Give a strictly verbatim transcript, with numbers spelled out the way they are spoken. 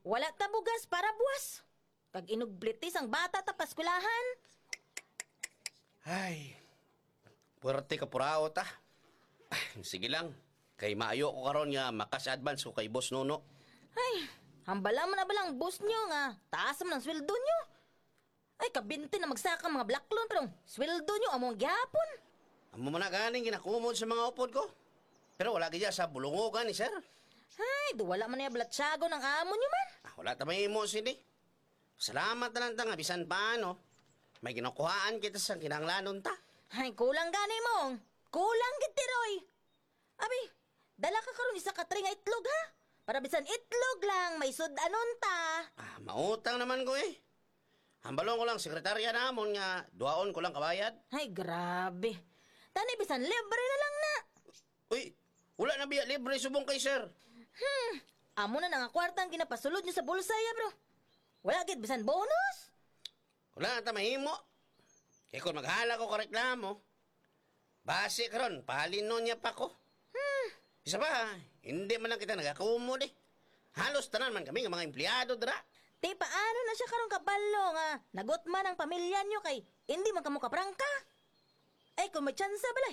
Wala ta bugas para buwas. Kag inugblitis ang bata ta paskwelahan. Ay, puwerte ka purao ta. Ay, sige lang. Kay maayo ko karon nga makas advance ko kay Boss Nuno. Ay, hambala mo na ba lang, boss nyo, nga taas man ang sweldo nyo? Ay, kabinti na magsaka mga blaklon, pero ang sweldo nyo amo ang gihapon. Amo man na ganing ginakumod sa mga upod ko. Pero wala gid sa bulungogan ni sir. Ay, do wala man niya blatsagon ang amo nyo man. Ah, wala ta may imo sini. Salamat na lang ta nga bisan paano, may ginakuhaan kita sa kinahanglanon ta. Ay, kulang gani mo. Kulang gid, Tiroy. Abi, dala ka karon isa ka tray nga itlog, ha? Para bisan itlog lang, may sud-anon ta. Ah, mautang naman ko eh. Hambalon ko lang, sekretarya namon nga duhaon ko lang kabayad. Ay, grabe. Tani, bisan libre na lang na. Uy, wala na biya libre subong kay sir. Hmm, amo na na nga kwarta ang ginapasulod nyo sa bulsa, ya, bro. Wala gid bisan bonus. Wala na ta mahimo. Kay kung maghala ko ka reklamo, basi karon, pahalinon niya pa ko. Hmm. Isa pa, hindi man lang kita nagakumod eh. Halos tanan man kami nga mga empleyado dira. Ti, paano na siya karon kabalo nga nagutman ang pamilya niyo kay hindi man kamo kaprangka? Ay, kung may tsansa bala,